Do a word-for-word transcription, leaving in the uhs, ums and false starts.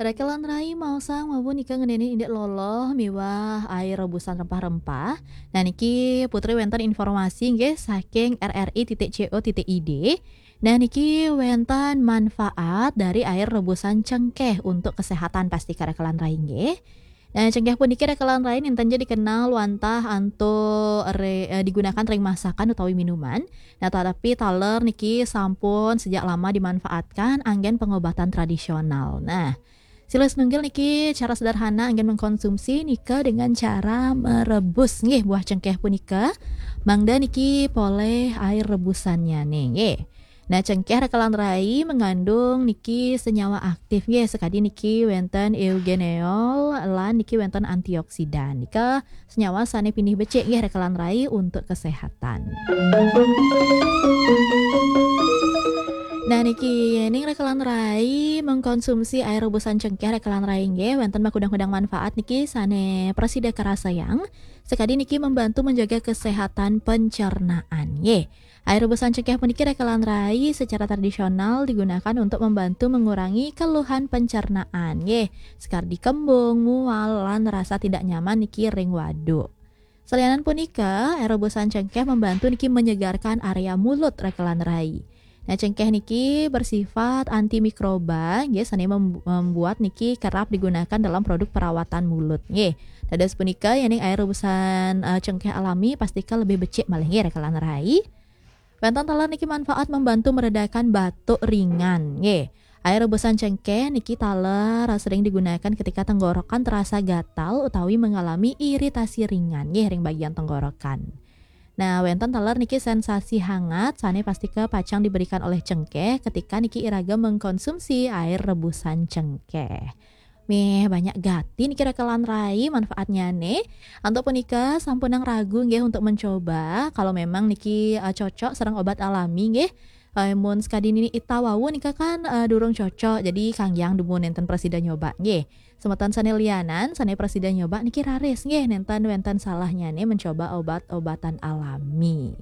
Rekelan rai, maosang mawon nika ngeninin indik loloh miwah air rebusan rempah-rempah. Nah, niki Putri wénten informasi nggih saking R R I titik C O titik I D. Nah, niki wénten manfaat dari air rebusan cengkéh untuk kesehatan, pastika rekelan rai nggih. Nah, cengkéh puniki rekelan rai nénten ja dikenal wantah antuk re-, eh, digunakan ring masakan utawi minuman. Nah, tetapi taler niki sampun sejak lama dimanfaatkan anggén pengobatan tradisional. Nah, silih sinunggil niki cara sederhana anggén mengkonsumsi nika dengan cara merebus nggih buah cengkéh punika. Mangda niki polih air rebusannya nih nggih. Nah, cengkéh rekelan rai mengandung niki senyawa aktif nggih, sakadi niki wénten eugenol lan niki wénten antioksidan. Nika senyawa sané pinih becik nggih rekelan rai untuk kesehatan. Nah, niki yéning rekelan rai mengkonsumsi air rebusan cengkéh rekelan rai nggih wénten makudang-kudang manfaat niki sané prasida karasayang. Sakadi niki membantu menjaga kesehatan pencernaan nggih. Air rebusan cengkéh puniki rekelan rai secara tradisional digunakan untuk membantu mengurangi keluhan pencernaan nggih. Sakadi kembung, mual, lan rasa tidak nyaman niki ring waduk. Salianan punika, air rebusan cengkéh membantu niki menyegarkan area mulut rekelan rai. Nah, cengkéh niki bersifat antimikroba nggih, sané mem-, membuat niki kerap digunakan dalam produk perawatan mulut nggih. Dados punika, yéning air rebusan, eh, cengkéh alami pastika lebih becik malih nggih rekelan rai. Wénten taler niki manfaat membantu meredakan batuk ringan nggih. Air rebusan cengkéh niki taler sering digunakan ketika tenggorokan terasa gatal utawi mengalami iritasi ringan nggih ring bagian tenggorokan. Nah, wénten taler niki sensasi hangat sané pastika pacang diberikan olih cengkéh ketika niki iraga mengkonsumsi air rebusan cengkéh. Méh, banyak gati niki rekelan rai manfaatnyané. Antuk punika sampunang ragu nggih untuk mencoba. Kalau memang niki, eh, cocok sareng obat alami nggih. Eh, mun sakadi nini ita wau nika kan, eh, durung cocok. Jadi kanggéang dumun nénten prasida nyoba nggih. Semeton sané lianan, sané prasida nyoba niki raris nggih, nénten wénten salahnyané mencoba obat-obatan alami.